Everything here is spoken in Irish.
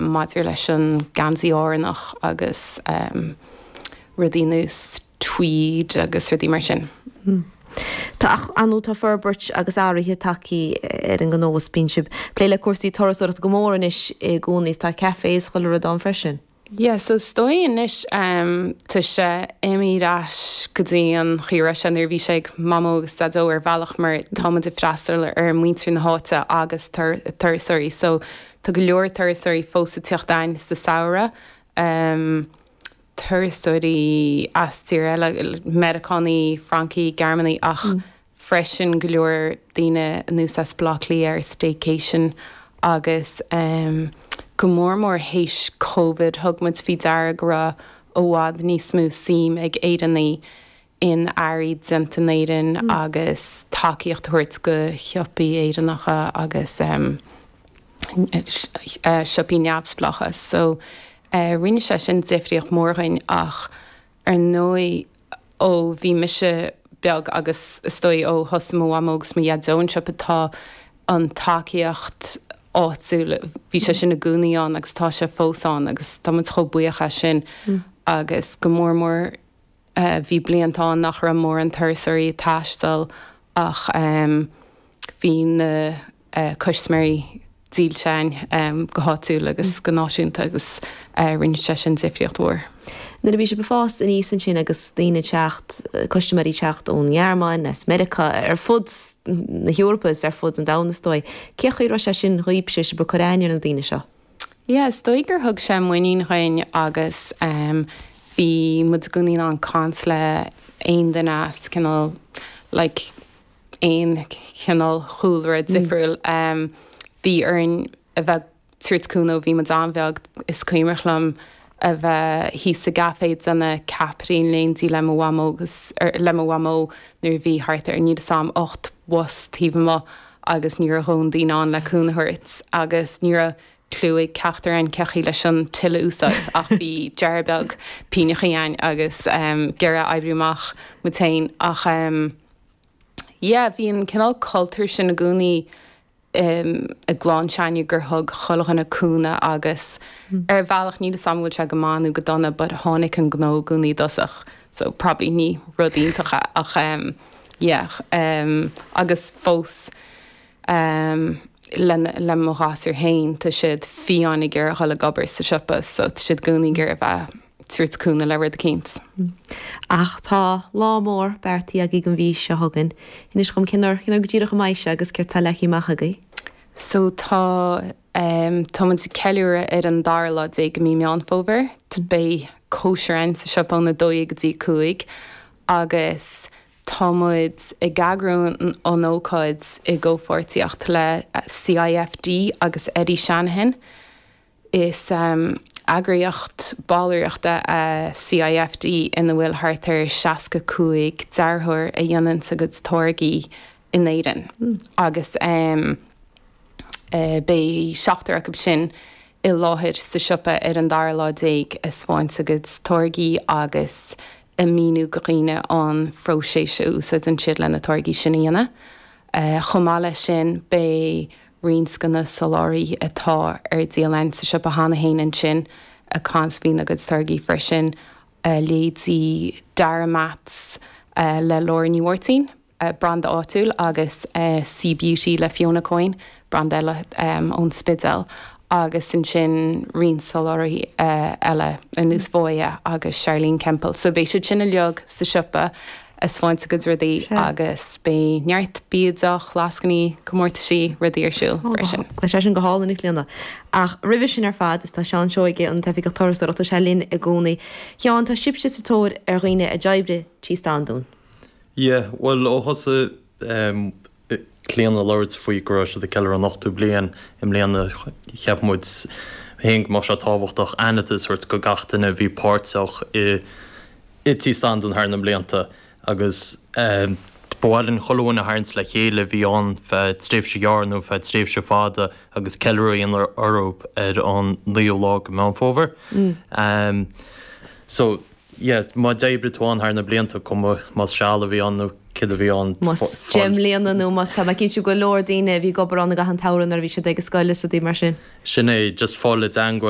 Maidir leis an geansaí Árannach agus rudaí ar nós tweed agus rudaí mar sin. Tá, ach ar ndóigh tá forbairt agus athruithe tagtha ar an ngnó is bíonn sibh ag plé le cúrsaí turasóireachta go mór anois i gcónaí is tá café is chuile rud ann freisin. Yeah, so is dóigh anois tá sé imithe ar ais go dtí an chaoi a raibh sé nuair a bhí sé ag Mamó agus Daideo ar bhealach mar tá muid ag freastal ar muintir na háite agus turasóirí so Tá go leor turasóirí fós ag teacht a'ainn sa samhradh, turasóirí as tír eile, Meiriceánaigh, Francaigh, Gearmánaigh ach freisin go leor daoine anuas as Baile Átha Cliath ar staycation agus go mór mór théis Covid thug muid faoi deara go raibh i bhfad níos mó suim ag Éireannaigh in earraí déanta in Éirinn agus tacaíocht a thabhairt go shiopaí Éireannacha agus siopaí neamhspleácha. So rinne sé sin difríocht mhór dhuinn ach ar ndóigh ó bhí mise beag agus is dóigh ó thosaigh mo mhamó agus mo dhaideo an siopa tá an tacaíocht áitiúil, bhí sé sin i gcónaí ann agus tá sé fós ann agus tá muid chomh buíoch as sin agus go mór mór Bhí blianta ann nach raibh mórán turasóirí ag taisteal ach bhí na custaiméirí dílse againn go háitiúil agus go náisiúnta agus rinne sé sin difríocht mhór. Nuair a bhí sibh ag fás aníos ansin agus daoine ag teacht, custaiméirí ag teacht ón nGearmáin, as Meiriceá, ar fud na hEorpa is ar fud an domhain is dóigh, cén chaoi a raibh sé sin dhaoibhse, sibh ag cur aithne ar na daoine seo? Yeah, is dóigh gur thug sé muinín dhuinn agus bhí muid i gcónaí in ann caint le aon duine as cineál like aon chineál chúlra difriúil. Bhí orainn a bheith ag tabhairt cúnamh ó bhí muid an-bheag, is cuimhneach liom a bheith thíos sa gcaifé ag déanamh ceapairí in éindí le mo mhamó agus le mo mhamó nuair a bhí thart ar níl 'fhios a'm 8 bhus taobh amuigh agus ní raibh a dhóthain daoine ann le cúnamh a thabhairt agus ní raibh cliú ag ceachtar againn cén chaoi leis an till a úsáid ach bhí deartháir beag pínneachaí againn agus ag iarraidh oibriú amach muid féin ach yeah bhí an cineál cultúr sin i gcónaí i gclann s'againne gur thug chuile dhuine cúnamh agus ar bhealach níl 'fhios a'm an bhfuil sé go maith nó go dona but tháinig an gnó i gcónaí i dtosach so probably ní rud iontach é ach yeah agus fós le le mo ghasúir féin tá siad fiáin ag iarraidh dhul ag obair sa siopa so tá siad i gcónaí ag iarraidh a bheith tabhairt cúnamh le rud eicínt. Ach tá lá mór beartaithe agaibh don mhí seo chugainn. Inis dhom cén uair, cén uair go díreach a mbeidh sé agus céard tá leagtha amach agaibh? So tá, tá muid ag ceiliúradh ar an dara lá déag de mí Meán Fómhair. Beidh cóisir againn sa siopa óna 12 go dtí 5 agus tá muid ag eagrú an ócáid i gcomhpháirtíocht le CIFD agus Eddie Shanahan. Is eagraíocht ballraíochta é CIFD ina bhfuil thart ar 65 dearthóir a dhéanann a gcuid táirgí in Éirinn agus beidh seachtar acu sin i láthair sa siopa ar an dara lá déag ag spáint a gcuid táirgí agus ag míniú go dhaoine an phróiseas a úsáideann siad le na táirgí sin a dhéanamh. Chomh maith leis sin beidh roinnt de na soláthraithe atá ar díol againn sa siopa cheana féin ansin ag caint faoina gcuid táirgí freisin, leithéidí Dara Mats le Laura Ní Mháirtín, branda áitiúil, agus C Beauty le Fiona Coyne, branda eile ón Spidéal, agus ansin roinnt soláthraithe eile ar nós Voya agus Charlene Semple. So beidh siad sin uilig sa siopa. ag spáint a gcuid rudaí agus beidh neart bia, deoch, lascainí, comórtaisí, rudaí ar siúl freisin. Tá sé sin go hálainn, a Chlíona. Ach roimhe sin ar fad, is tá Seán Seoige, an tOifigeach Turasóireachta, tá sé linn i gcónaí. Sheáin, tá sibhse sa tóir ar dhaoine a d'oibrigh Tí Standún. Yeah, bhuel ó thosaigh Clíona ag labhairt faoi go raibh siad ag ceiliúradh an ochtú bliain i mbliana, cheap muid féin go mbeadh sé tábhachtach aitheantas a thabhairt go gach duine a bhí páirteach i i Tí Standún thar na mblianta agus ba mhaith linn chuile dhuine a tharraingt le chéile a bhí ann feadh tréimhse ghearr nó feadh tréimhse fada agus ceiliúradh a dhéanamh orthu ar an naoú lá de Mheán Fómhair. So. Yeah, má d'oibrigh tú ann thar na blianta, cuma más seal a bhí ann nó céard a bhí ann. Más 10 mbliana nó más tá mé cinnte go leor daoine a bhí ag obair ann i gcaitheamh an tsamhraidh nuair a bhí siad ag an scoil is rudaí mar sin. Sin é, just fáil i dteangmháil.